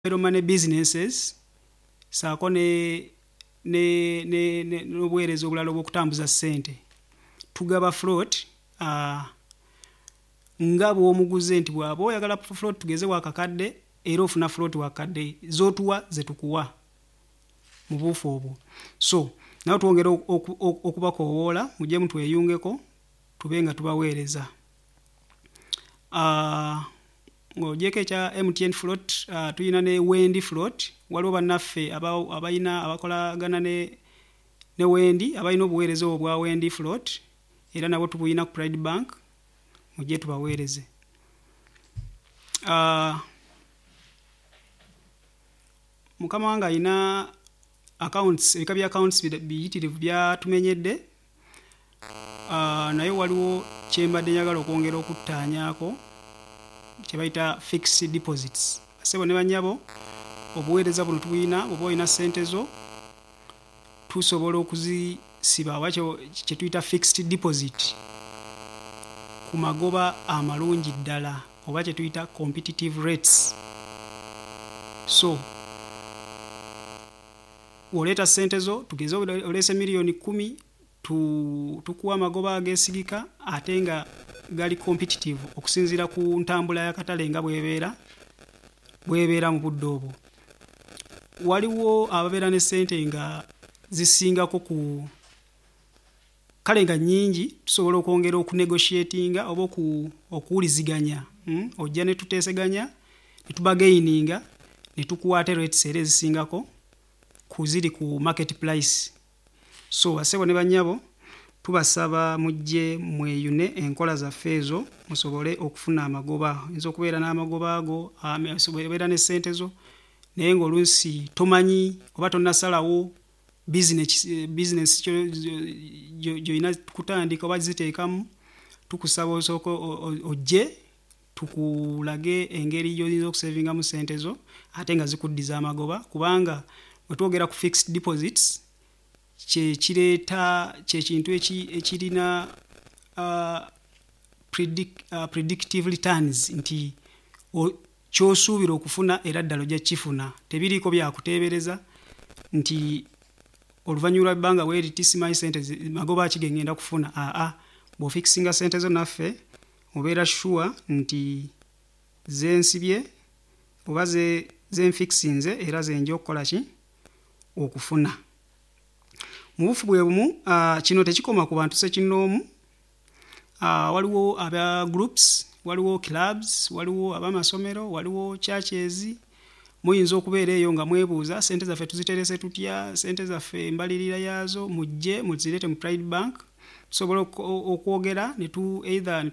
Mobile money businesses ssaako ne ne ne n'obuweereza obulala obw'okutambuza ssente. Tugaba float nga bw'omuguze nti bw'aba oyagala float tugeze wa kakadde, era ofuna float wa kakadde, z'otuwa ze tukuwa mu buufu obwo. So nabo twongera okubakoowoola mujje mutweyungeko tube nga tubaweereza. Ng'ogyeko ekya MTN float, tulina ne Wendi float. Waliwo bannaffe abalina abakolagana ne Wendi, abalina obuweereza obwo bwa Wendi float, era nabo tubuyina ku Pride Bank, mujje tubaweereze. Mukama wange alina accounts, ebika bya accounts biyitirivu byatumenyedde, naye waliwo kye mbadde njagala okwongera okuttaanyaako kye bayita fixed deposits. Bassebo ne bannyabo, obuweereza buno tubuyina. Bw'oba olina ssente zo, tusobola okuzisiba oba kye tuyita fixed deposit ku magoba amalungi ddala oba kye tuyita competitive rates. So bw'oleeta ssente zo, tugeze oleese 10 miliyoni, tukuwa amagoba ageesigika ate nga gali competitive okusinziira ku ntambula y'akatale nga bw'ebeera mu budde obwo. Waliwo ababeera ne ssente nga zisingako ku kale nga nnyingi, tusobola okwongera okunegotiatinga oba okuwuliziganya, Ojja ne tuteeseganya ne tubargaininga ne tukuwa ate rates era ezisingako ku ziri ku market price. So bassebo ne bannyabo, tubasaba mujje mweyune enkola zaffe ezo musobole okufuna amagoba. Oyinza okubeera n'amagoba ago, obeera ne ssente zo naye ng'oluusi tomanyi oba tonnasalawo bizinesi gy'olina kutandika oba ziteekamu. Tukusaba osooke ojje tukulage engeri gy'oyinza okusavingamu ssente zo ate nga zikuddiza amagoba, kubanga bwe twogera ku fixed deposits, kye kireeta kye kintu ekirina predictive returns, nti ky'osuubira okufuna era ddala ojja kukifuna. Tebiriiko byakuteebereza nti oluvannyuma lwa bbanga bwe riti simanyi ssente magoba ki ge ŋŋenda kufuna. Aa, bw'ofixinga ssente zo naffe, obeera sure nti zensibye oba ze nfixinze era zenja okukola ki okufuna. Mu bufu bwe bumu, kino tekikoma ku bantu ssekinnoomu. Waliwo aba groups, waliwo clubs, waliwo ab'amasomero, waliwo churches. Muyinza okubeera eyo nga mwebuuza, ssente zaffe tuziterese tutya, ssente zaffe embalirira yaazo? Mujje muzireete mu Pride Bank. Tusobola okwogera ne tu either ne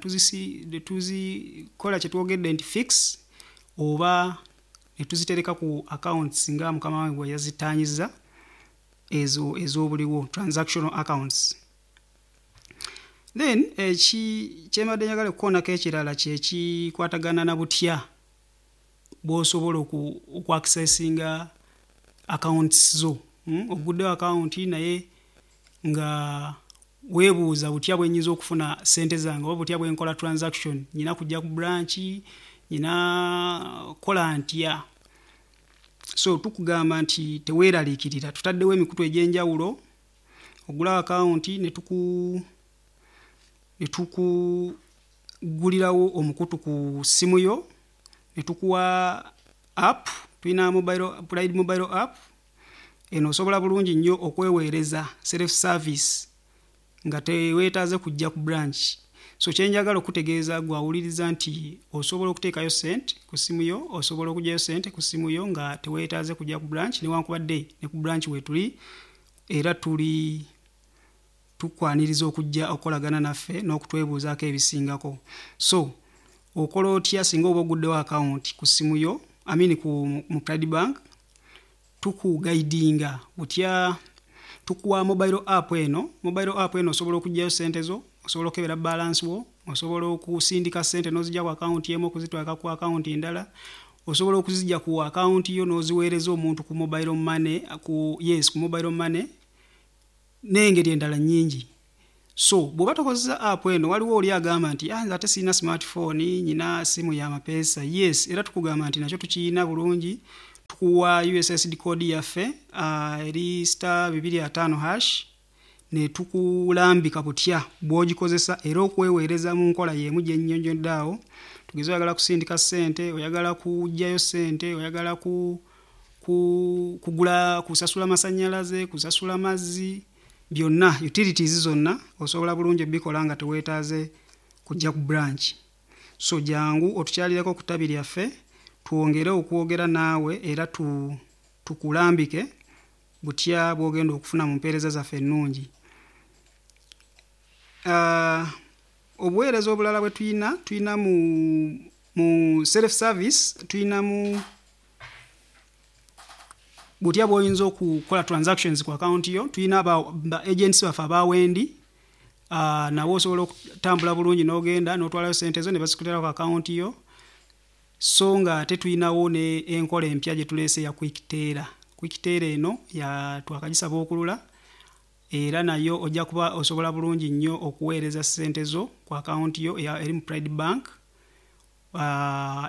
tuzikola kye twogedde nti fix oba ne tuzitereka ku accounts nga mukama wange bwe yazitaanyizza, ezo ez'obuliwo, transactional accounts. Then kyembadde njagala okukoonako ekirala kye kikwatagana na butya bw'osobola okuaccessinga accounts zo. Oguddewo account naye nga weebuuza, butya bwe nnyinza okufuna ssente zange oba butya bwe nkola transaction? Nyina kujja ku branch? Nyina kukola ntya? So tukugamba nti teweeraliikirira, tutaddewo emikutu egy'enjawulo. Ogulawo akawunti ne tukugulirawo omukutu ku ssimu yo ne tukuwa app. Tulina mobile, Pride mobile app. Eno osobola bulungi nnyo okweweereza, self service, nga teweetaaze kujja ku branch. So kyenjagala okutegeeza gwe awuliriza nti osobola okuteekayo ssente ku ssimu yo, osobola okuggyayo ssente ku ssimu yo nga teweetaaze kujja ku branch, newankubadde ne ku branch weetuli era tuli tukwaniriza okujja okukolagana naffe n'okutwebuuzaako ebisingako. So okola otya singa oba oguddewo akawunti ku ssimu yo, I mean mu Pride Bank? Tukuguidinga butya? Tukuwa mobile app eno. Mobile app eno osobola okuggyayo ssente zo, osobola okukebera balance wo, osobola okusindika ssente n'ozijja ku akawunti emu okuzitwala ku akawunti endala, osobola okuzijja ku akawunti yo n'oziweereza omuntu ku mobile money, yes, ku mobile money n'engeri endala nnyingi. So bw'oba tokozesa app eno, waliwo oli agamba nti, "Ah, nze ate sirina smartphone, nyina simu ya mapeesa." Yes, era tukugamba nti nakyo tukiyina bulungi. Tukuwa USSD code yaffe eri star 250 hash netukulambika butya bw'ogikozesa era okweweereza mu nkola y'emu gye nnyonnyodde awo. Tugeze oyagala kusindika ssente, oyagala kuggyayo ssente, oyagala ku, ku, kugula, kusasula masannyalaze, kusasula mazzi, byonna utilities zonna osobola bulungi obikola nga teweetaaze kujja ku branch. So jangu otukyalireko ku ttabi lyaffe twongere okwogera naawe era tu, tukulambike butya bw'ogenda okufuna mu mpeereza zaffe ennungi. Obuweereza obulala bwe tulina, tulina mu, mu self service, tulinamu butya bw'oyinza okukola transactions ku account yo. Tulina ba, ba agents baffe aba Wendi, nabo osobola okutambula bulungi n'ogenda n'otwalayo ssente zo ne bazikutera ku account yo. So nga ate tulinawo ne enkola empya gye tuleese ya quick teller. Quick teller eno ya twakagisaba okulula era nayo ojja kuba osobola bulungi nnyo okuweereza ssente zo ku account yo eri mu Pride Bank.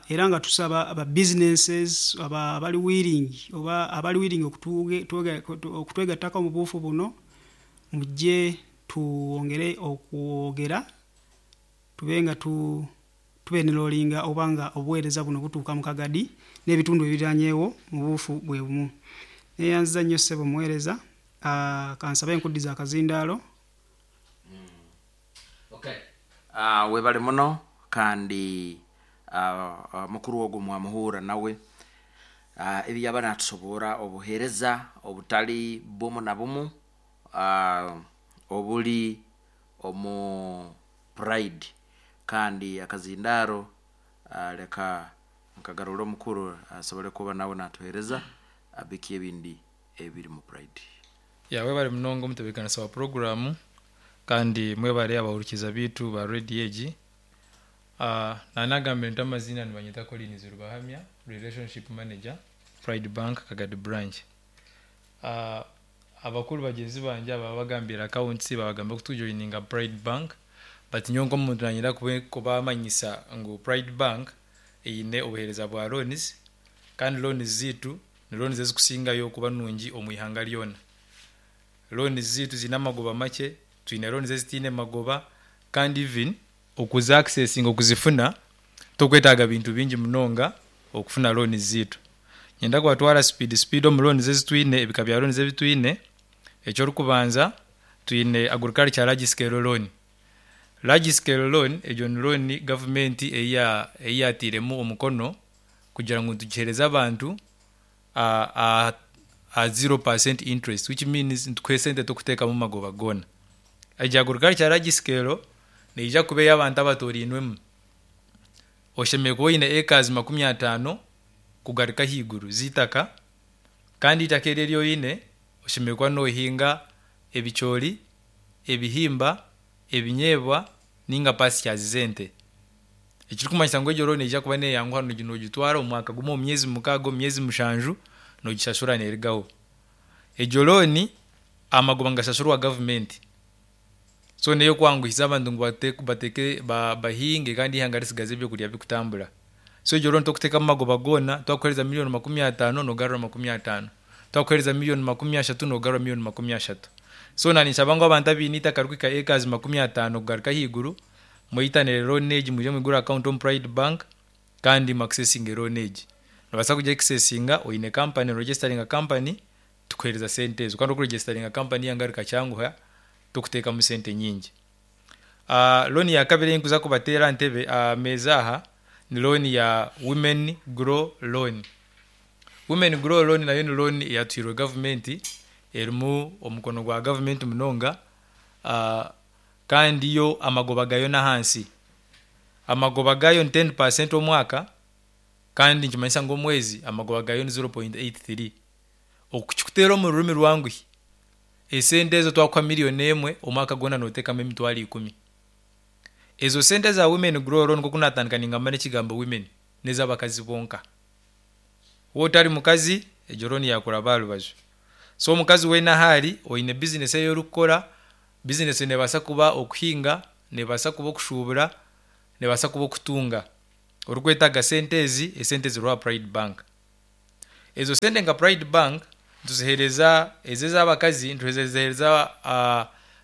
Era nga tusaba aba businesses abali willing oba abali willing okutwegattako mu buufu buno, mujje twongere okwogera tube nga tu tubenrolinga oba nga obuweereza buno butuuka mu Kagadi n'ebitundu ebiriranyeewo mu buufu bwe bumu. Neeyanziza nnyo ssebo muweereza, kansabe nkuddiza akazindaalo. Okay. Webale muno kandi mukuru ogwo mwamuhurra nawe ebi yaba natusoborra obuheereza obutali bumu na bumu obuli omu Pride kandi akazindaaro leka nkagarure omukuru asobole kuba nawe natuheereza biki ebindi ebiri mu Pride. Ya, webale munonga omutebeekanisa wa puroguraamu, kandi mwebare abahurikiza biitu ba rediyo egi. Naanagambire nti amaziina nibanyeta Collins Rubahamya, Relationship Manager, Pride Bank Kagadi Branch. Abakuru bagyenzi bangye aba babagambiire accounts, babagambira kutujoininga Pride Bank, but nyowe nk'omuntu nanyenda kubamanyisa ngu Pride Bank eine obuheereza bwa loans, kandi loans ziitu ni loans ezikusingayo kuba nungi omu ihanga ryona. Loans ziitu ziine amagoba makye, twine loans ezitaine magoba, kandi even okuzi accessinga okuzifuna tokwetaaga bintu bingi munonga okufuna loans ziitu. Niinyenda kubatwara speed speed omu loans ezi twine, ebika bya loans ebi twine. Eky'orikubanza twine agriculture large scale loan. Large scale loan egyo ni loan gavumenti ei ei yaatairemu omukono kugira ngu tugiheereze abantu aha 0% interest which means nitukuha esente torikuteekamu magoba goona. Egyo agriculture large scale neija kuba ey'abantu abatoorainwemu. Oshemereire kuba oine acres 50 kugaruka ahaiguru z'eitaka kandi eitaka eryo eri oine oshemereire kuba noohinga ebicoori, ebihimba, ebinyeebwa ninga pastures z'ente. Ekirikumanyisa ngu egyo loan neija kuba neeyanguha noogitwara omu mwaka gumwe, omu myezi 6, omu myezi 7 noogishashura neerugaho. Egyo loan amagoba nigashashurwa gavumenti. So n'ey'okwanguhiza abantu ngu bateeke bahinge kandi eihanga ritsigaze ebyokurya birikutambura. So egyo loan torikuteekamu magoba goona, twakuheereza million 50 noogarura 50. Twakuheereza million 30 noogarura million 30. So naanye ninshaba ngu abantu abaine eitaka ririkuhika acres 50 kugaruka ahaiguru, mweyitanire loan egi mwije mwigure account omu Pride Bank kandi mu accessinge loan egi. Noobaasa kugi accessinga oine company, oregisitaringa company tukuheereza sente ezo. Kandi okuregisitaringa company eihanga rikakyanguha torikuteekamu sente nyingi. Loan ya kabiri ei ndikuza kubateera aha ntebe aha meeza aha ni loan ya Women Grow Loan. Women Grow Loan nayo ni loan eyatuhairwe gavumenti erimu omukono gwa gavumenti munonga kandi yo amagoba gaayo n'ahansi. Amagoba gaayo ni 10% omwaka kandi nikimanyisa ngu omwezi amagoba gaayo ni 0.83. Okukikuteera omu rurimi rwanguhi, esente ezo twakuha million emwe omwaka gwona nooteekamu 100,000. Ezo sente eza Women Grow Loan nk'oku naatandika ningamba n'ekigambo women n'ez'abakazi bonka. Waaba otari mukazi, egyo loan yaakuraba aha rubaju. So omukazi weena ahu ari, oine bizinesi ei orikukora, bizinesi neebaasa kuba okuhinga, neebaasa kuba okushuubura, neebaasa kuba okutunga. Orikwetaaga sente ezi, esente ziriho aha Pride Bank. Ezo sente nka Pride Bank nituziheereza ezo ez'abakazi nituziheereza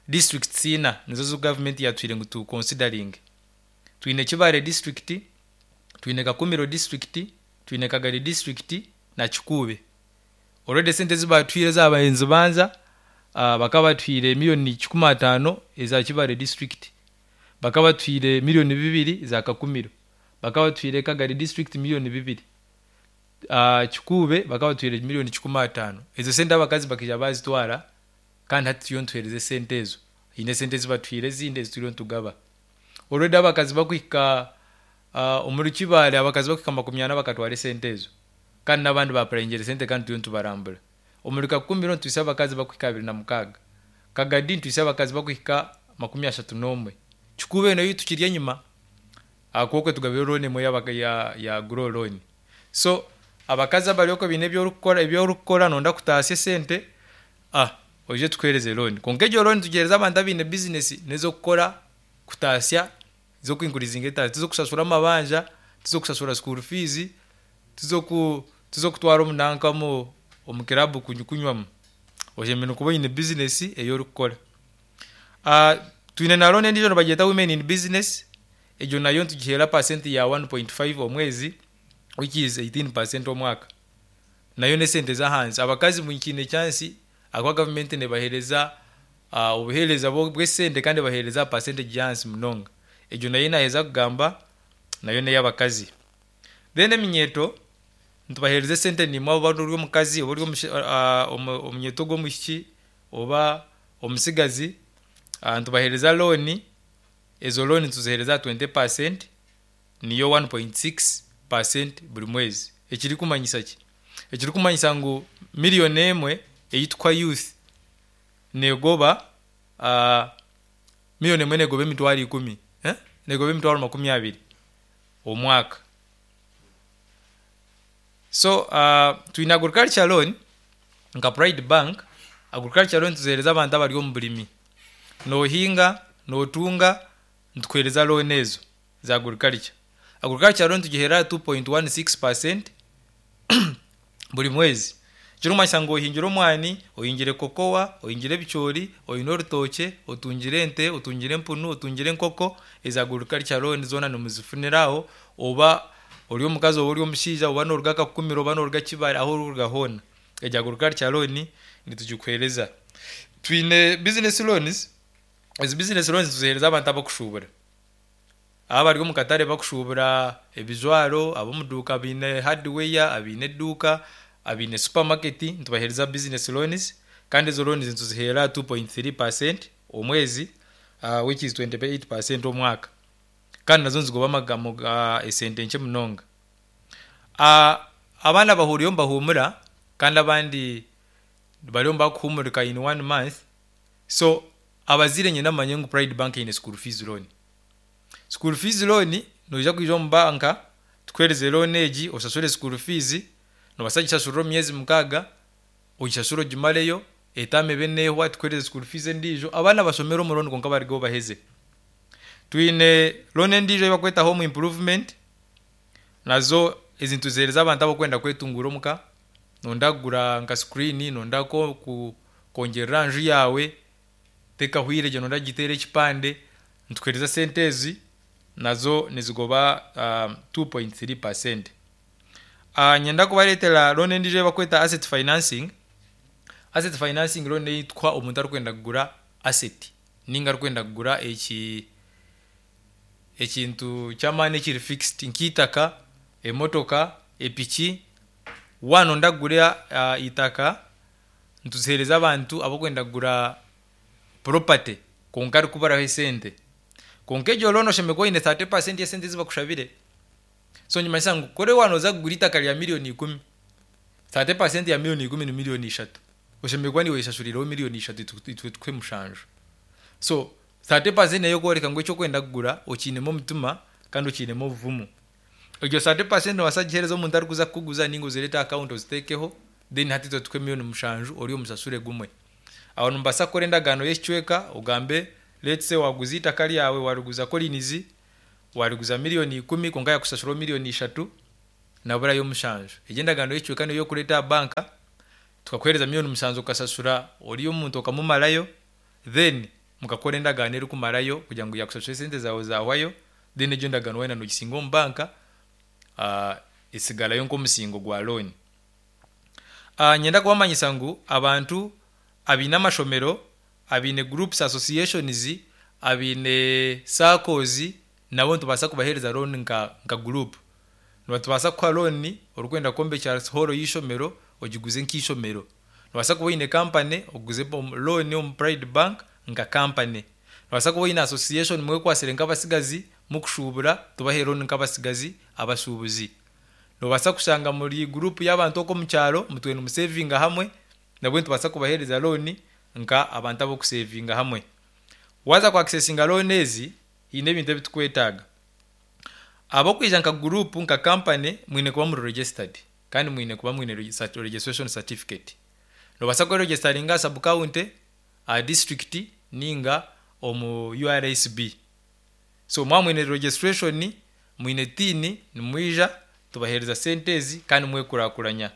districts ina nizo zi gavumenti yatwire ngu tu considering. Twine Kibaale district, twine Kakumiro district, twine Kagadi district na Kikuube. Already esente ezi baatuhaire ezaabaire nizibanza bakaba batuhaire miriyoni 150 eza Kibaale district, bakaba batuhaire miriyoni 2 eza Kakumiro, bakaba batuhaire Kagadi district miriyoni 2, Kikuube bakaba batuhaire miriyoni 150. Ezo sente abakazi bakaija baazitwara kandi hati turiyo nituheereza esente ezo. Haine esente ezi batuhaire ezindi ezi turiyo nitugaba. Already abakazi bakuhika omuri Kibaale abakazi bakuhika 40 bakatwara esente ezo kandi n'abandi baapurayingire esente kandi turiyo nitubarambura. Omuri Kakumiro nituhitsya abakazi bakuhika 26. Kagadi nituhitsya abakazi bakuhika 31. Kikuube nayo tukiri enyima ahakuba okwe tugabire looni emwe ya Grow Loan. So abakazi abari okwe baine ebi orikukora noyenda kutaasya esente, oije tukuheereze looni. Kwonka egyo looni tugiheereza abantu abaine bizinesi n'ez'okukora kutaasya z'okwinkuringa etaasya tiz'okushashura amabanja, tiz'okushashura school fees, tiz'okutwara omunanka omu kiraabu kunywamu. Oshemereire kuba oine bizinesi ei orikukora. Twine na looni endiijo nibagyeta women in business, egyo nayo nitugiheera pasenti ya 1.5 omwezi which is 18% omwaka. Nayo n'esente z'ahansi. Abakazi mukiine chance ahakuba gavumenti nebaheereza obuheereza bw'esente kandi ebaheereza aha percentage y'ahansi munonga. Egyo nayo naaheza kugamba nayo n'ey'abakazi. Then eminyeeto nitubaheereza esente nimwe oba ori omukazi oba ori omunyeeto ogw'omwishiki oba omutsigazi nitubaheereza looni, ezo looni nituziheereza aha 20% niyo 1.6% buri mwezi. Ekirikumanyisa ki? Ekirikumanyisa ngu miriyoni emwe ei tukuha youth neegoba miriyoni emwe neegoba emitwaro ikumi, neegoba emitwaro 20 omwaka. So twine agriculture loan nka Pride Bank, agriculture loan nituziheereza abantu abari omu burimi. Noohinga, nootunga, nitukuheereza loan ezo za agriculture. Agriculture loan tugiheera aha 2.16% buri mwezi. Ekirikumanyisa ngu ohingire omwani, ohingire kokowa, ohingire ebicoori, oine orutookye, otungire ente, otungire empunu, otungire enkoko, ezo agriculture loan zoona nimuzifunira aho oba ori omukazi oba ori omushaija oba nooruga Kakumiro oba nooruga Kibaale ahu orikuruga hoona egyo agriculture loan nitugikuheereza. Twine business loans, ezi business loans nituziheereza abantu abakushuubura. Aba abari omu katare bakushuubura ebijwaro, ab'omu duuka baine hardware, abaine eduuka, abaine supermarket nitubaheereza business loans kandi ezo loans nituziheera aha 2.3% omwezi which is 28% omwaka kandi nazo nizigoba esente nkye munonga. Abandi abahuriire nibahuumura kandi abandi bariyo nibakuhuumurika in one month so abazaire niinyenda mumanye ngu Pride Bank eine school fees loan. School fees loan noija kwija omu banka tukuheereze loan egi oshashure school fees, noobaasa kugishashurira omu myezi 6, ogishashure ogimareyo, etaama ebe neehwa tukuheereze school fees endiijo, abaana bashomere omu loan kwonka barugeho baheze. Twine loan endiijo ei barikweta home improvement, nazo ezi nituziheereza abantu abarikwenda kwetunguura omuka, nooyenda kugura nka screen, nooyenda kwongyerera aha nju yaawe, tekahwire gye nooyenda kugiteera ekipande, nitukuheereza esente ezi nazo nizigoba 2.3%. Niinyenda kubareetera loan endiijo ei barikweta asset financing. Asset financing loan ei tukuha omuntu arikwenda kugura asset ninga arikwenda kugura eki ekintu ky'amaani ekiri fixed nk'eitaka, emotoka, epiki. Waaba nooyenda kugura eitaka, nituziheereza abantu abarikwenda kugura property kwonka arikuburaho esente. Kwonka egyo loan oshemereire kuba oine 30% y'esente ezi bakushabire. So nikimanyisa ngu kuri waaba nooza kugura eitaka rya miriyoni 10, 30% ya miriyoni 10 ni miriyoni 3. Oshemereire kuba niiwe oyeshashuriireho miriyoni 3 itwe tukuhe 7. So 30% n'ey'okworeka ngu eki orikwenda kugura okiinemu omutima kandi okiinemu obuvumu. Egyo 30% noobaasa kugiheereza omuntu arikuza kukuguza ninga ozireete aha akawunti oziteekeho then hati itwe tukuhe miriyoni 7 ori omushashure gumwe. Aho nimubaasa kukora endagaano y'ekicweka ogambe let's say waaguza eitaka ryawe waariguza Collins, waariguza miriyoni 10 kwonka yaakushashuraho miriyoni 3. Naburayo mushanju. Egyo endagaano y'ekicweka niyo y'okureeta aha banka tukakuheereza 7,000,000 okashashura ori omuntu okamumarayo, then mukakora endagaano erikumarayo kugira ngu yaakushashura esente zaawe zaahwayo, then egyo endagaano waayenda noogisinga omu banka etsigarayo nk'omusingo gwa looni. Niinyenda kubamanyisa ngu abantu abaine amashomero, abaine groups associations, abaine SACCOs nabo nitubaasa kubaheereza looni nka nka group. Nitubaasa kukuha looni orikwenda kwombekyera hall y'eishomero ogiguze nk'eishomero. Noobaasa kuba oine kampani oguze looni omu Pride Bank nka kampani. Noobaasa kuba oine association mwekwatsire nk'abatsigazi mukushuubura tubahe looni nk'abatsigazi abashuubuzi. Noobaasa kushanga muri guruupu y'abantu okwo omu kyaro mutwire nimuseevinga hamwe nabwo nitubaasa kubaheereza looni nka abantu ab'okuseevinga hamwe. Waaza ku akisesinga looni ezi, haine ebintu ebi turikwetaaga. Ab'okwija nka guruupu nka kampani mwine kuba muri registered kandi mwine kuba mwine registration certificate. Noobaasa kweregisitaringa aha sub county, aha disiturikiti ninga omu URSB. So mwaba mwine registration, mwine tin, nimwija tubaheereza sente ezi kandi mwekurakuranya.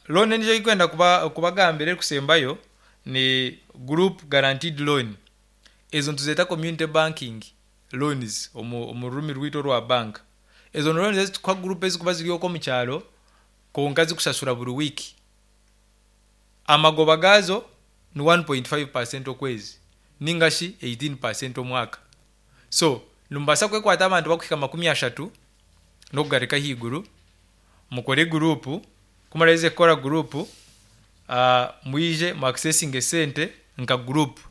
Loan endiijo ei ndikwenda kubagambira erikusembayo ni group guaranteed loan. Ezo nituzeeta community banking loans omu rurimi rwaitu orwa banka. Ezo ni loans ezi turikuha guruupu ezirikuba ziri okwo omu kyaro kwonka zikushashura buri wiiki. Amagoba gaazo ni 1.5% okwezi ninga shi 18% omwaka. So nimubaasa kwekwata abantu bakuhika 30 n'okugaruka ahaiguru mukore guruupu, ku muraheze kukora guruupu mwije mu akisesinge esente nka guruupu.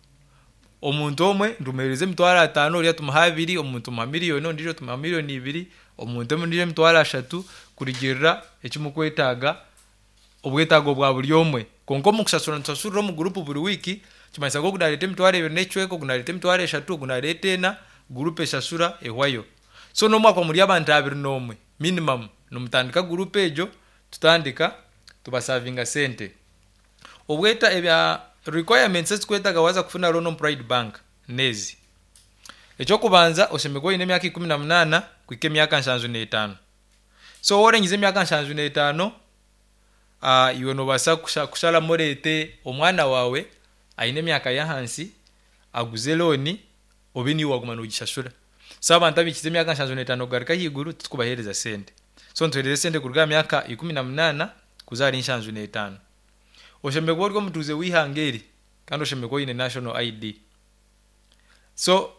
Omuntu omwe nitumuheereza 50,000, oriya tumuha abiri, omuntu tumuha miriyoni, ondiijo tumuha 2,000,000, omuntu ondiijo 30,000 kurugiirira eki murikwetaaga, obwetaago bwa buri omwe. Kwonka omu kushashura nitushashurira omu guruupu buri wiiki, nikimanyisa ngu ogu naareeta 25,000, ogu naareeta 30,000, ogu naareeta ena, guruupu eshashura ehwayo. So n'obu mwakuba muri abantu 21 minimum nimutandika guruupu egyo tutandika tubasavinga sente. Obweta ebya requirements eziturikwetaaga waaza kufuna loan omu Pride Bank n'ezi, Eky'okubanza oshemereire kuba oine emyaka 18 kuhika emyaka 75. So waaba orengize emyaka 75 iwe noobaasa kusharamu oreete omwana waawe aine emyaka y'ahansi aguze looni obe niiwe waaguma noogishashura. So abantu abahikize emyaka 75 kugaruka ahaiguru titurikubaheereza sente. So nituheereza esente kuruga aha myaka 18 kuza ahari 75. Oshemereire kuba ori omutuuze w'eihanga eri kandi oshemereire kuba oine national ID. So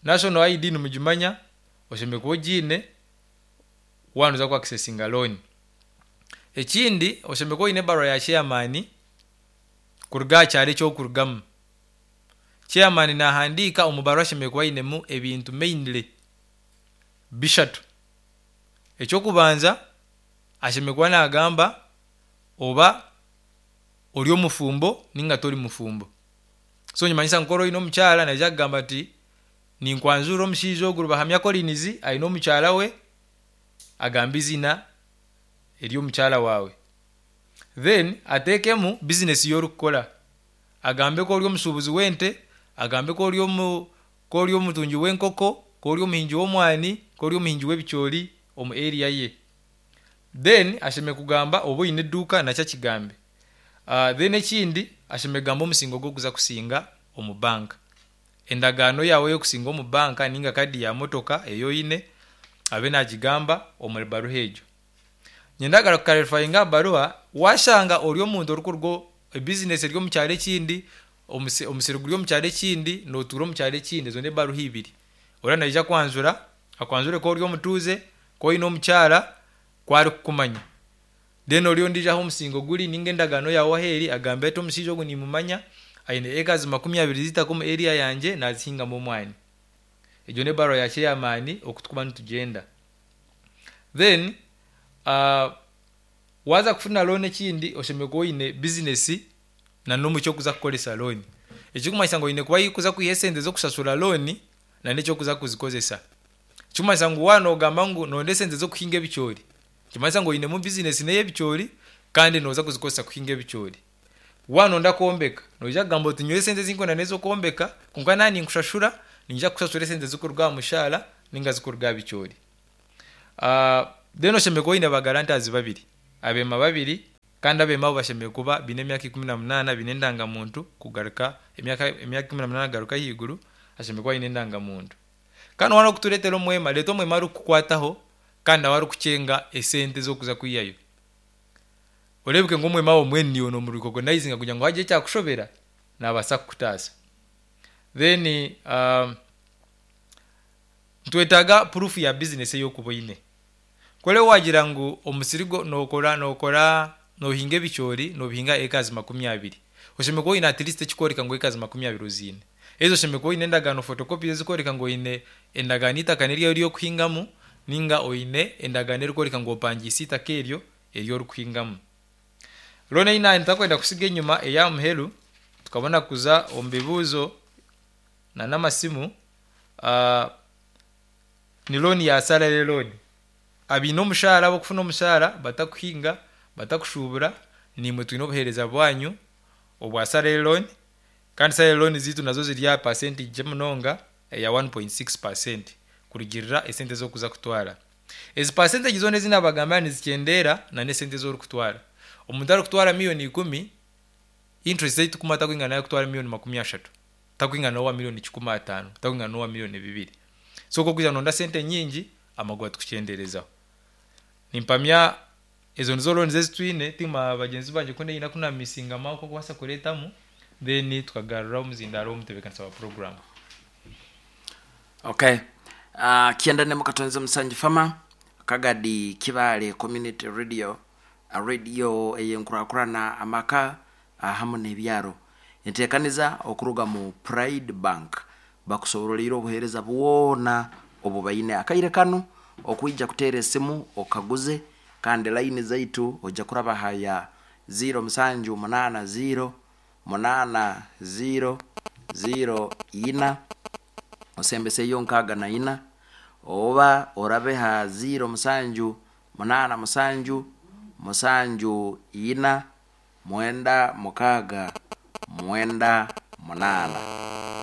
national ID nimugimanya, oshemereire kuba ogiine waaba nooza ku akisesinga looni. Ekindi oshemereire kuba oine ebaruha ya chairman kuruga aha kyaro eki orikurugamu. Chairman naahandiika omu baruha ashemereire kuba ainemu ebintu mainly bishatu. Eky'okubanza ashemereire kuba naagamba oba ori omufumbo ninga tori mufumbo. So nikimanyisa ngu ku oraba oine omukyara naija kugamba ati ninkwanjurira omushaija ogu Rubahamya Collins aine omukyara we agambe eiziina ery'omukyara waawe. Then ateekemu bizinesi ei orikukora. Agambe ku ori omushuubuzi w'ente, agambe ku ori omu ku ori omutungi w'enkoko, ku ori omuhingi w'omwani, ku ori omuhingi w'ebicoori omu area ye. Then ashemereire kugamba oba oine eduuka nakyo akigambe. Then ekindi ashemereire kugamba omusingo ogu orikuza kusinga omu banka. Endagaano yaawe ey'okusinga omu banka ninga kaadi ya motoka ei oine abe naagigamba omu baruha egyo. Niinyenda kukarifayinga aha baruha, waashanga ori omuntu orikuruga ebizinesi eri omu kyaro ekindi, omusiri guri omu kyaro ekindi, nootuura omu kyaro ekindi, ezo n'ebaruha ibiri. Oriya naija kwanjura, akwanjure ku ori omutuuze, ku oine omukyara, ku arikukumanya. Then oriya ondiijo ahu omusingo guri ninga endagaano yaawe ahu eri agambe ati omushaija ogu nimumanya, aine acres 20 z'eitaka omu area yangye naazihingamu omwani. Egyo n'ebaruha ya chairman oku turikuba nitugyenda. Then waaza kufuna loan ekindi oshemereire kuba oine bizinesi na n'omu ky'okuza kukoresa loan. Ekirikumanyisa ngu oine kuba ahu orikuza kwiha esente z'okushashura loan na n'eky'okuza kuzikozesa. Ekirikumanyisa ngu waaba noogamba ngu noronda esente z'okuhinga ebicoori, nikimanyisa ngu oinemu bizinesi n'ey'ebicoori kandi nooza kuzikozesa kuhinga ebicoori. Waaba noyenda kwombeka, noija kugamba oti nyowe esente ezi ndikwenda n'ez'okwombeka kwonka naaba ninkushashura, niinyija kukushashura esente zirikuruga aha mushaara ninga zirikuruga aha bicoori. Then oshemereire kuba oine ba guarantors babiri, abeema babiri kandi abeema abo bashemereire kuba baine emyaka 18, baine endangamuntu kugaruka emyaka emyaka 18 kugaruka ahaiguru, ashemereire kuba aine endangamuntu. Kandi waaba orikutureetera omwema, reeta omwema arikukukwataho kandi nawe arikukyenga esente z'okuza kwihayo. Oreebeke ngu omwema wawe mbwenu naiwe noomurikogonayizinga kugira ngu haagira ekyakushobera, naabaasa kukutaasa. Then nitwetaaga proof ya bizinesi ei orikuba oine. Ku oriba waagira ngu omusiri gwo nookora nookora noohinga ebicoori noobihinga acres 20, oshemereire kuba oine at least ekikworeka ngu acres 20 oziine. Haza oshemereire kuba oine endagaano photocopies ezikworeka ngu oine endagaano eitaka n'eryawe ery'okuhingamu nainga oine endagaano erikworeka ngu opangiise eitaka eryo eri orikuhingamu. Loan ei naaba ntakwenda kutsiga enyima ey'aha muheru tukabona kuza omu bibuuzo n'amasimu ni loan ya salary loan. Abaine omushaara ab'okufuna omushaara batakuhinga, batakushuubura, naimwe twine obuheereza bwanyu obwa salary loan kandi salary loan zaitu nazo ziri aha percentage nkye munonga eya 1.6% kurugiirira esente ezi orikuza kutwara. Ezi percentage zoona ezi naabagambira nizikyendeera n'esente ezi orikutwara. Omuntu arikutwara miriyoni ikumi, interest ei turikumuha tarikwingana n'arikutwara miriyoni 30, tarikwingana n'owa miriyoni 500, tarikwingana n'owa miriyoni 2. So ku orikwija noronda sente nyingi, amagoba tukukyendeerezaho. Nimpamya ezo nizo loans ezi twine, tiimanya bagyenzi bangye ku haine aku naamisingamu aku orikubaasa kureetamu then tukagarura omuzindaaro w'omutebeekanisa wa puroguraamu. Okay. Uh, Kiendane Mukatonze Musangi Farmer, Kagadi Kibaale Community Radio, radio ey'enkurakurana amaka hamu n'ebyaro. Enteekaniza okuruga mu Pride Bank bakusoboroliire obuheereza bwona obu baine akaire kanu okwija kuteera esimu okaguze kandi layini zaitu oija kuraba ha ya 0 musanju munaana 0 munaana 0 0 ina osembeseyo 64 oba orabe ha 0 musanju munaana musanju musanju ina mwenda mukaaga mwenda munaana.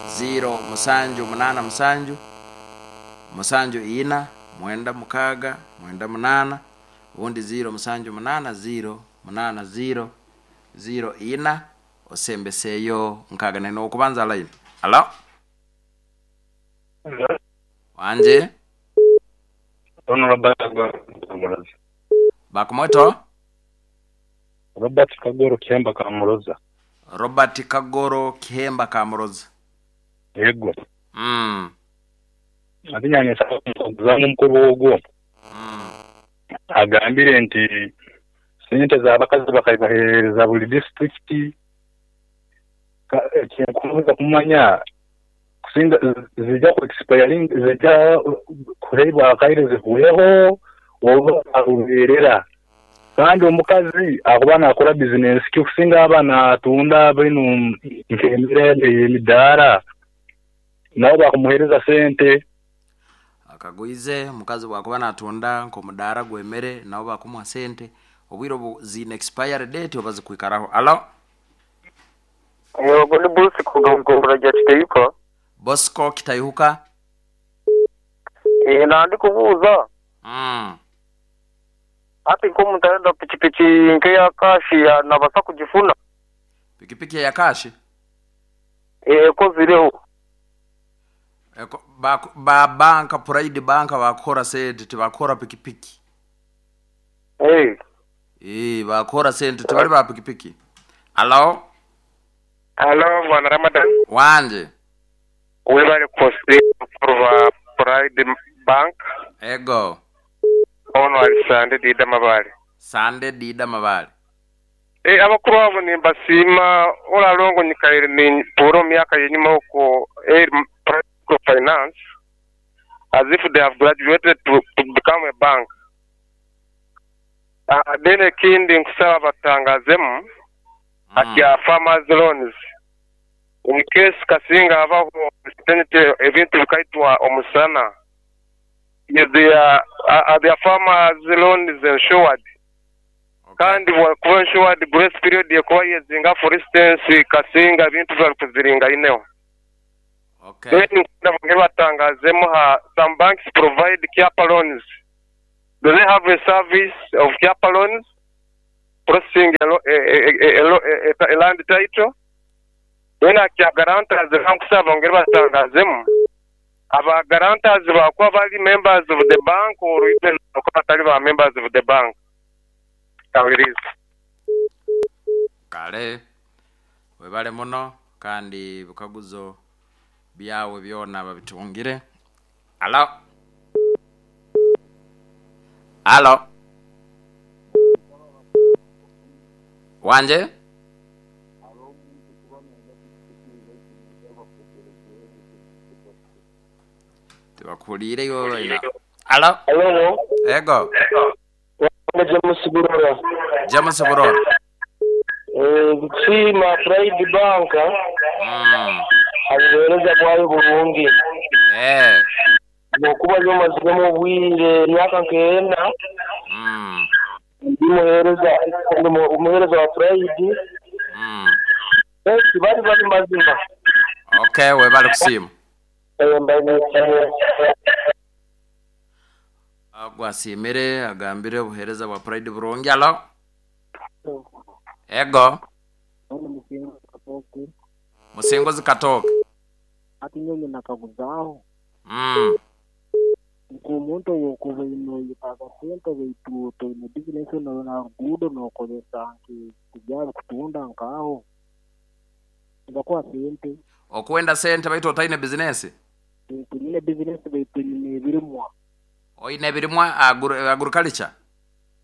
0 musanju munaana musanju musanju ina mwenda mukaaga mwenda munaana obundi 0 musanju munaana 0 munaana 0 0 ina osembeseyo 64. Ow'okubanza line. Halo? Wangye? Ono Robert Kagoro Kamuroza. Bakumweto? Robert Kagoro Kihemba Kamuroza. Robert Kagoro Kihemba Kamuroza. Yego. Ate nanye nsaba kumukaguzamu omukuru ogwo. Agambire nti sente z'abakazi bakazibahereza buri disiturikiti. Ekinkubaasa kumanya kusinga zija ku expiringa zija kuheebwa akaire zihweho oba za rubeerera. Kandi omukazi akuba naakora bizinesi ki kusinga aba naatunda binu nk'emere ey'emidaara nabo bakumuheereza sente. Akagwize omukazi bwakuba natunda nk'omudaara gw'emere nabo bakumuha sente obwire obu ziine expiry date oba zikwikaraho. Halo? Ogwo ni Bosco kuruga omu gombolola rya Kitayuka. Bosco Kitayuka. Nandikubuuza. Hati nk'omuntu arenda pikipiki nk'eya kashi nabaasa kugifuna? Pikipiki eya kashi? Ekozireho. Ba banka Pride Bank bakukora sente tibakukora pikipiki. Ee, bakukora sente tibari ba pikipiki. Halo? Halo Bwana Ramadan. Wangye. Webale kusiima ba Pride Bank. Ego. Ono ari Sande Dida Mabale. Sande Dida Mabale. E, abakuru abo nimbasiima oralongo nyikaire nintuura omu myaka y'enyima okwo Pride Microfinance as if they have graduated to, to become a bank. Then ekindi nkusaba batangazemu akya farmers loans in case kasinga habaho uncertainty ebintu bikaitwa omusana is their, are their farmers loans insured? Kandi bwakuba insured grace period ekuba yezinga for instance kasinga ebintu biba bikuziringaineho. Okay. Then nkwenda bongere batangazemu ha some banks provide cap loans. Do they have a service of chaperons processing a, a, a, a, a land title? Then akya guarantors bankusaba bongere batutangazemu aba guarantors bakuba bali members of the bank or even bakuba batali ba members of the bank. Kawiriize. Kale webale muno kandi ebikaguzo byawe byona babitungire. Alo? Alo? Wanje? Tibakuhuliire iwe baina. Alo? Alo, Ego. wange James Burora. James Burora. Nkusiima Pride Bank ahabuheereza bwayo burungi. Ahabw'okuba nyowe maziremu obwire emyaka nk'ena ndi muheereza ndi muheereza wa Pride. Bari bari mazima. Okay, webale kusiima. Mbaine. Ogu asiimire agambire obuheereza bwa Pride burungi. Alo? Ego. Musinguzi Katooke. Hati nyowe nyine akaguzaaho. Nk'omuntu ow'okuba oine oyetaaga sente baitu toine bizinesi na ruguudo n'okozesa nk'ebintu kutunda nk'aho, nibakuha sente. Okwenda sente baitu otaine bizinesi? Baitu nyine bizinesi baitu nyine ebirimwa. Oine ebirimwa agriculture?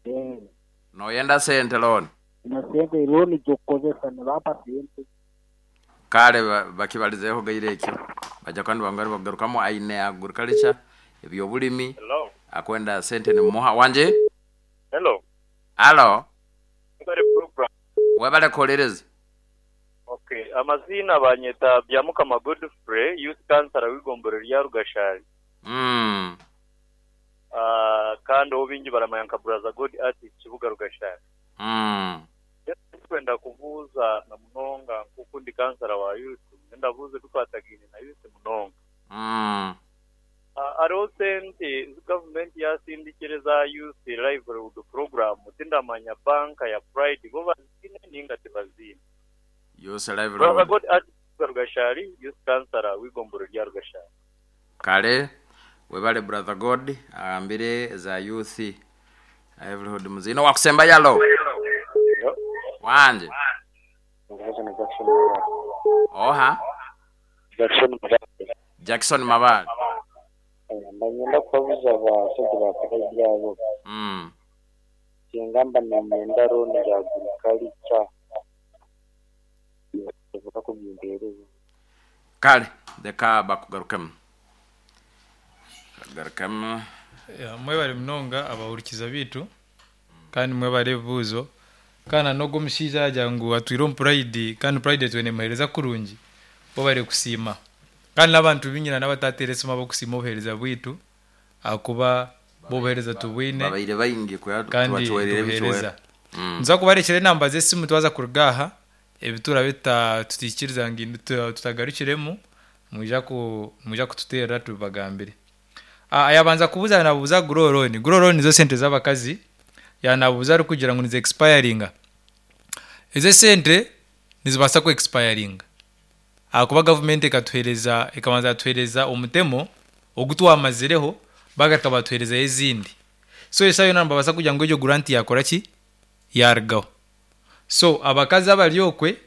Ee. Noyenda sente looni? Nyine sente looni z'okukozesa nibampa sente. Kale bakibalizeeho gaire ekyo baija kuba nibongera nibagarukamu aine agriculture eby'obulimi Hello. akwenda sente nimumuha wangye? Hello. Alo. Webale program. Webale kuhuliriza. Okay, amaziina banyeta Byamukama Godfrey, youth councillor w'eigombolola rya Rugashari. Kandi ou baingi baramanya nka Brother God Artist Kibuga Rugashari. Mbwenu tindikwenda kubuuza na munonga nk'oku ndi kansara wa youth, nindabuuza ebikwatagaine na youth munonga. Hariho sente ezi gavumenti yaasindikire eza Youth Livelihood Program, tindamanya banka ya Pride bo baziine nainga tibaziine. Youth Brother Livelihood. God Artist Kibuga Rugashari, Youth Councillor w'eigombolola rya Rugashari. Kale webale brother God agambire eza youth livelihood muziine. Owakusembayo alo? Wangye? Oha? Jackson Mabale. Jackson Mabale. Mba niinyenda kubabuuza abashaija ba Pride abo. Singa mba niinyenda looni ya agriculture nibasobola kugimpeereza? Kale leka bakugarukemu. Bakugarukemu. Mwebare munonga abahurikiza baitu kandi mwebare ebibuuzo. Kandi na n'ogu omushaija yaagira ngu atwire omu Pride kandi Pride etwire neemuheereza kurungi, bo kusiima. Kandi n'abantu baingi na n'abatateera esimu abarikusiima obuheereza bwaitu ahakuba bo obuheereza tubwine Babaire baingi kuya kandi tubacwerire nitubuheereza. ebicwero. Nituza kubarekyera enamba z'esimu twaza kuruga aha, ebi turaabe tutaikiriza ngu tutagarukiremu, mwija ku mwija kututeerera tubibagambire. Yaabanza kubuuza naabuuza Grow Loan. Grow Loan nizo sente z'abakazi, yaaba naabuuza arikugira ngu nizi expiringa. Ezo esente nizibaasa ku expiringa ahakuba gavumenti ekatuheereza ekabanza yatuheereza omutemo ogu twamazireho baagaruka baatuheerezayo ezindi. So eshaaha yoona nibabaasa kugira ngu egyo grant yaakora ki? Yaarugaho. So abakazi abari okwe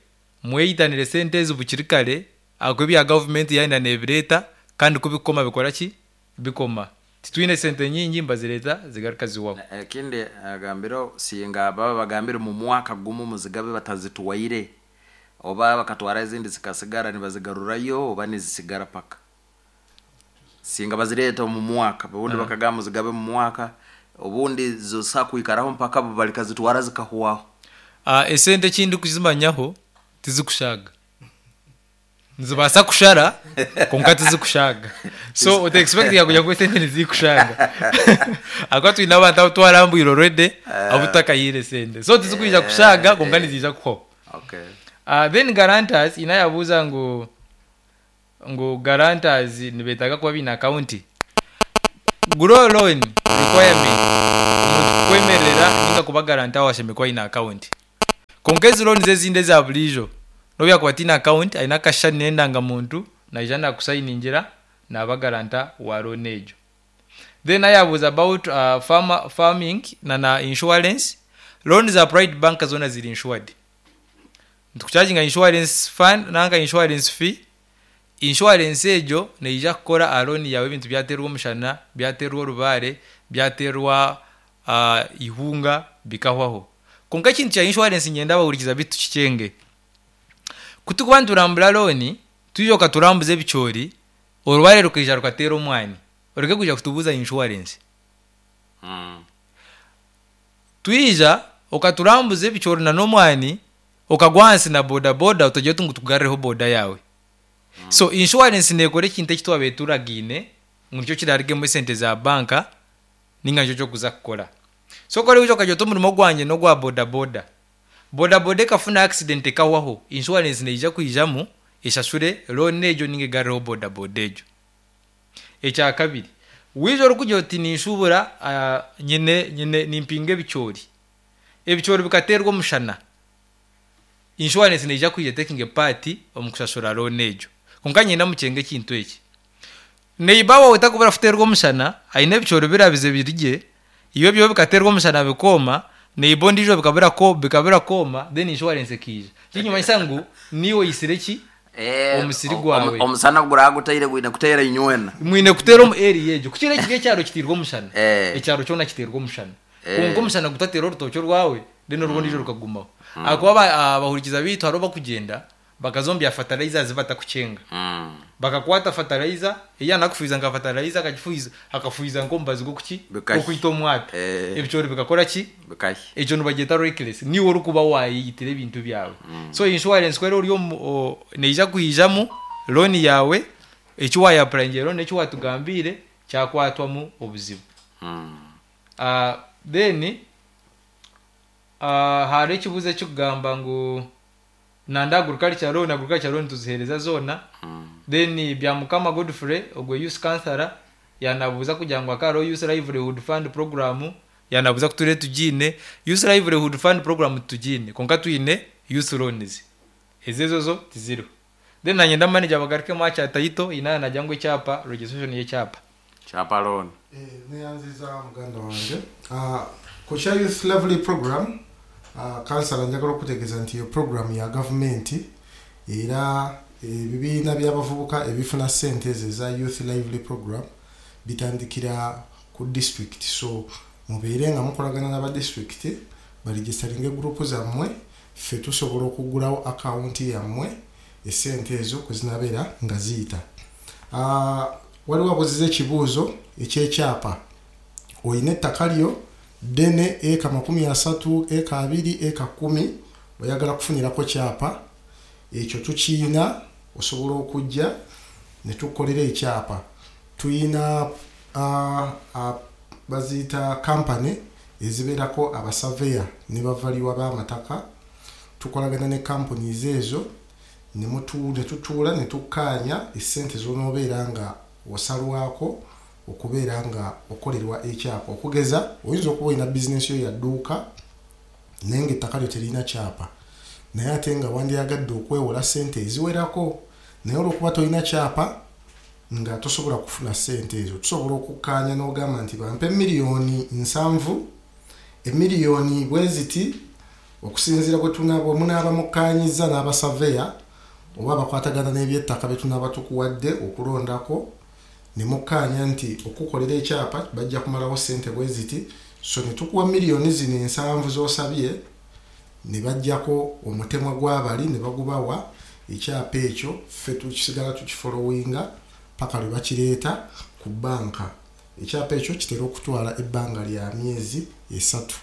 mweyitanire esente ezi bukiri kare ahakuba ebya gavumenti yaayenda neebireeta kandi ku bikukoma bikora ki? Bikoma. Titwine sente nyingi nibazireeta zigaruka zihwaho. Ekindi agambire singa baba bagambire mu mwaka gumu muzigabe batazitwaire oba bakatwara ezindi zikasigara nibazigarurayo oba nizisigara paka singa bazireeta omu mwaka obundi bakagamba muzigabe mu mwaka obundi zisobola kwikaraho mpaka balikazitwara zikahwaho. Esente eki ndikuzimanyaho tizikushaaga. Nizibaasa kushara kwonka tizikushaaga. So ota expectinga kugira ngu esente nizikushaaga. Ahakuba twine abantu abu twarambwire already abu tutakahaire esente. So tizikwija kushaaga kwonka niziija kuhwaho. Then guarantors haine ayabuuza ngu ngu guarantors nibeetaaga kuba baine account. Grow loan requirement. Omuntu kukwemerera ninga kuba guarantor waawe ashemereire kuba aine account. Kwonka ezi loans ezindi eza buriijo, n'obu yaakuba ataine account, aine akashushani n'endangamuntu, naija naakusayiningira, naaba guarantor wa loan egyo. Then ayabuuza about farmer, farming na na insurance, loan za Pride Bank zoona ziri insured. Nitukucharginga insurance fund nanka insurance fee, insurance egyo neija kukora aha loan yaawe ebintu byateerwa omushana, byateerwa orubaare, byateerwa eihunga bikahwaho. Kwonka ekintu kya insurance niinyenda abahurikiza beitu tukikyenge. Ku turikuba niturambura loan, twija okaturambuza ebicoori, orubaare rukaija rukateera omwani, oreke kwija kutubuuza insurance. Twija okaturambuza ebicoori na n'omwani, okagwa ahansi na boda boda otagira oti ngu tukugarurireho boda yaawe. So insurance neekora ekintu eki twabaire turagaine ngu nikyo kirarugemu esente za banka ninga nikyo ky'okuza kukora. So ku orikwija okagira oti omurimo gwangye n'ogwa boda boda, boda boda ekafuna accident ekahwaho, insurance neija kwijamu eshashure loan egyo ninga egarureho boda boda egyo. Ekyakabiri, waija orikugira oti ninshuubura nyine nyine nimpinga ebicoori, ebicoori bikateerwa omushana, insurance neija kwija etekinge part omu kushashura loan egyo. Kwonka niinyenda mukyenge ekintu eki, neiba waawe takubura kuteerwa omushana, aine ebicoori birabize biri gye, iwe ebyawe bikateerwa omushana bikooma, neiba ondiijo bikabura bikabura kwoma then insurance ekaija. Ekirikumanyisa ngu niiwe oitsire ki? Omusiri gwawe. Omusana guraba gutaire gwine kuteera inywena. Mwine kuteera omu area egyo. Ku kiri kiri ekyaro kiteirwe omushana, ekyaro kyona kiteirwe omushana. Kwonka omushana gutateera orutookye orwawe, then orw'ondiijo rukagumaho. Ahakuba abahurikiza baitu hariho abakugyenda bakaza omu bya fertilizers batakukyenga. Bakakwata fertilizer, ei yaanakufuhiza nka fertilizer akagifuhiza akafuhiza nk'omubazi gw'okuki? Gw'okwita omwata. Ebicoori bikakora ki? Ekyo nibagyeta reckless. Niiwe orikuba waayeyitira ebintu byawe. So insurance ku eri ori omu neija kwijamu loan yaawe, eki waayapurayingira loan n'eki waatugambiire kyakwatwamu obuzibu. Then hariho ekibuuzo ekirikugamba ngu Nanda agriculture loan, agriculture loan tuzihereza zoona. Then Byamukama Godfrey ogwe youth councillor yanabuuza kugira ngu hakaba hariho youth livelihood fund program yanabuuza ku turiyo tugiine. Youth livelihood fund program titugiine kwonka twine youth loans ezo ezo zo tiziriho. Then nanye nda manager bagarukemu aha kya title haine yanagira ngu ekyapa registration y'ekyapa. Kyapa loan. Neyanziza muganda wange. Ku kya Youth Lively Program, kansala njagala okukutegeeza nti eyo puroguramu ya gavumenti era ebibiina by'abavubuka ebifuna ssente ezo eza Youth Lively Program bitandikira ku disitulikiti so mubeere nga mukolagana n'aba disitulikiti baregisitaringe gurupu zammwe ffe tusobola okuggulawo akawunti yammwe esente ezo kwezinabeera nga ziyita. Waliwo abuuziza ekibuuzo eky'ekyapa. Oine ettaka lyo ddene, eka 30, eka abiri, eka kkumi, oyagala kufunirako kyapa, ekyo tukiina, osobola okujja ne tukukolera ekyapa. Tulina baziyita kampani ezibeerako abasaveya ne bavaluwa b'amataka, tukolagana ne companies ezo ne tutuula ne tukkaanya essente z'onoobeera nga osalwako okubeera nga okolerwa ekyapa. Okugeza oyinza okuba olina bizinensi yo ya dduuka naye ng'ettaka lyo teririna kyapa naye ate nga wandyagadde okwewola ssente eziwerako naye olw'okuba tolina kyapa nga tosobola kufuna ssente ezo. Tusobola okukkaanya n'ogamba nti bampe miliyoni nsanvu, emiliyoni bweziti okusinziira bwe munaaba mukkaanyizza n'abasaveya oba abakwatagana n'ebyettaka be tunaaba tukuwadde okulondako ne mukkaanya nti okukukolera ekyapa bajja kumalawo ssente bwe ziti so ne tukuwa miliyoni zino ensanvu z'osabye ne baggyako omutemwa gw'abali ne bagubawa ekyapa ekyo ffe tukisigala tukifolowinga paka lwe bakireeta ku bbanka. Ekyapa ekyo kitera okutwala ebbanga lya myezi esatu.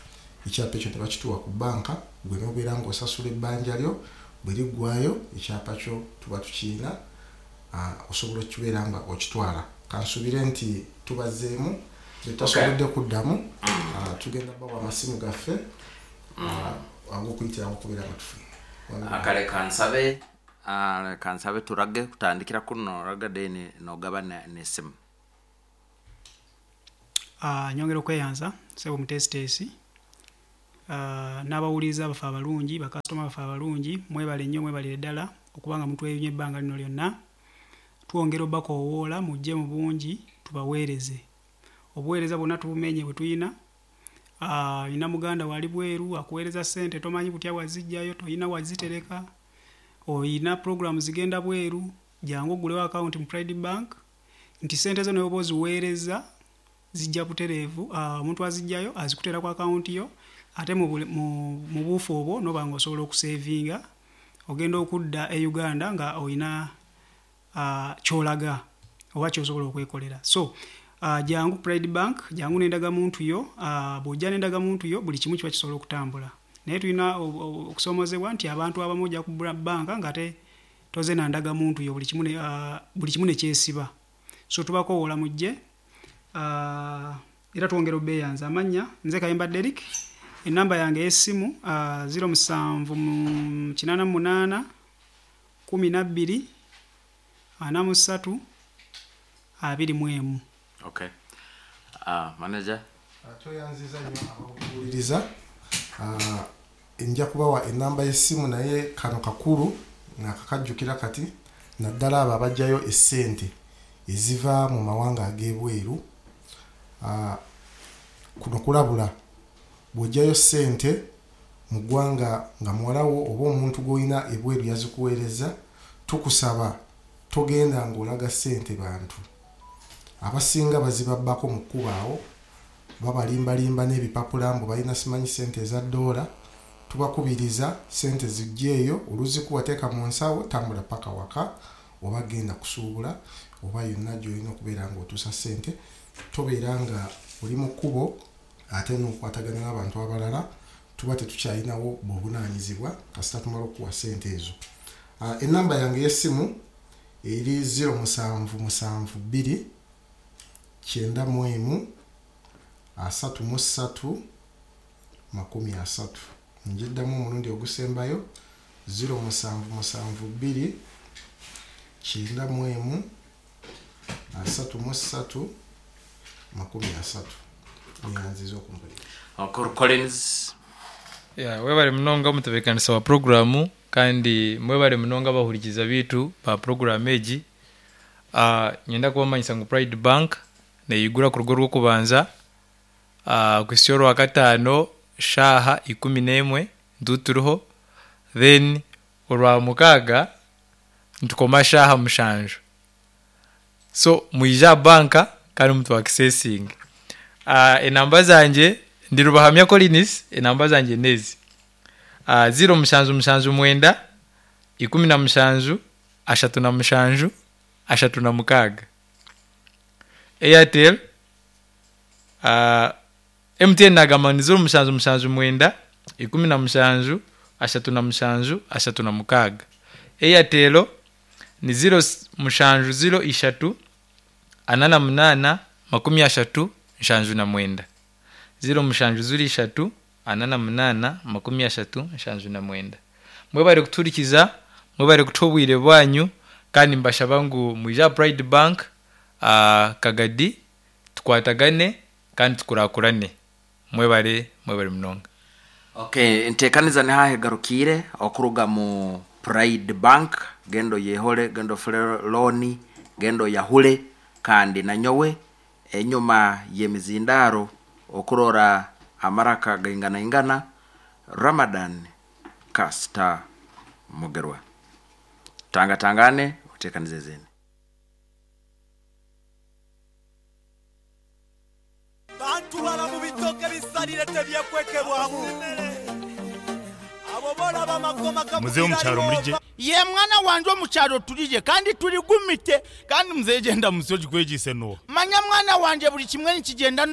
Ekyapa ekyo ne bakituwa ku bbanka ggwe n'obeera ng'osasula ebbanja lyo, bwe liggwaayo ekyapa kyo tuba tukirina osobola okubeera nga okitwala. Kansuubire nti tubazzeemu be tutasobodde kuddamu tugenda bawa amasimu gaffe ag'okuyitirawo okubeera nga tufuna. Kale kansabe kansabe turage kutandikira kunu noraga then nogaba n'esimu. Nyongera okweyanza ssebo omuteesiteesi n'abawuliriza baffe abalungi, bakasitoma baffe abalungi, mwebale nnyo mwebalire ddala okuba nga mutweyunye ebbanga lino lyonna. Twongera obakoowoola mujje mu bungi tubaweereze. Obuweereza bwonna tubumenye bwe tulina. Olina muganda wo ali bweru akuweereza ssente tomanyi butya bw'aziggyayo, tolina wazitereka, olina pulogulaamu zigenda bweru, jangu oggulewo akawunti mu Pride Bank nti ssente zo ne bw'oba oziweerezza zijja butereevu, omuntu aziggyayo azikuteera ku akawunti yo ate mu mu buufu obwo n'oba ng'osobola okuseevinga ogenda okudda e Uganda nga olina ky'olaga oba ky'osobola okwekolera. So jangu ku Pride Bank, jangu n'endagamuntu yo, bw'ojja n'endagamuntu yo buli kimu kiba kisobola okutambula. Naye tulina okusoomoozebwa nti abantu abamu ojja ku bbanka ng'ate tozze na ndagamuntu yo buli kimu buli kimu ne kyesiba. So tubakowoola mujje era twongera obeeyanza. Amannya nze Kayemba Derrick, ennamba yange ey'essimu 07 88 12 43 21. Okay. Manager. Tweyanziza nnyo abawuliriza. Nja kubawa ennamba y'essimu naye kano kakulu nakakajjukira kati naddala abo abajjayo essente eziva mu mawanga ag'ebweru. Kuno kulabula, bw'ojjayo ssente mu ggwanga nga muwala wo oba omuntu gw'olina ebweru yazikuweerezza, tukusaba togenda ng'olaga ssente bantu. Abasinga bazibabbako mu kkubo awo, babalimbalimba n'ebipapula mbu balina simanyi ssente eza ddoola. Tubakubiriza ssente ziggyeeyo, oluzikuwa teeka mu nsawo, tambula paka waka oba genda kusuubula oba yonna gy'olina okubeera ng'otuusa ssente. Tobeera nga oli mu kkubo ate n'okwatagana n'abantu abalala, tuba tetukyalinawo buvunaanyizibwa kasita tumala okukuwa ssente ezo. Ennamba yange ey'essimu eri 0772 91 33 30. Ngiddamu omulundi ogusembayo 0772 91 33 30. Neyanziza okumpuliriza. Uncle Collins. Yeah, webale munonga omutebeekanisa wa puroguraamu kandi mwebale munonga abahurikiza baitu ba puroguraamu egi. Niinyenda kubamanyisa ngu Pride Bank neigura kuruga orwokubanza kuhitsya orwakataano shaaha 11 nituba turiho then orwamukaaga nitukoma shaaha 7. So mwije aha banka kandi mutu akisesinge. Enamba zangye ndi Rubahamya Collins, enamba zangye n'ezi, 0779 17 37 36. Airtel, MTN nagamba ngu ni 0779 17 37 36. Airtel ni 0703 48 30 79. 0703 48 30 79. Mwebare kutuhurikiza, mwebare kutuha obwire bwanyu kandi nimbashaba ngu mwije aha Pride Bank Kagadi tukwatagane kandi tukurakurane. Mwebare, mwebare munonga. Okay, enteekaniza niho ahu egarukiire okuruga mu Pride Bank, genda oyehore, genda ofure looni, genda oyahure kandi nanyowe enyuma y'emizindaaro okurora amaraka gainganaingana, Ramadan Kasita Mugerwa. Tangatangane oteekanize ezindi. Bantwala mu bitooke ebisalire tebyekwekebwamu. Abo b'olaba amakoma Muzeeyi omu kyaro muri gye. Ye mwana wangye omu kyaro turi gye kandi turi gumite. Kandi muzeeyi gyenda musyo ogikwegyeise n'oha? Manya mwana wangye buri kimwe nikigyenda.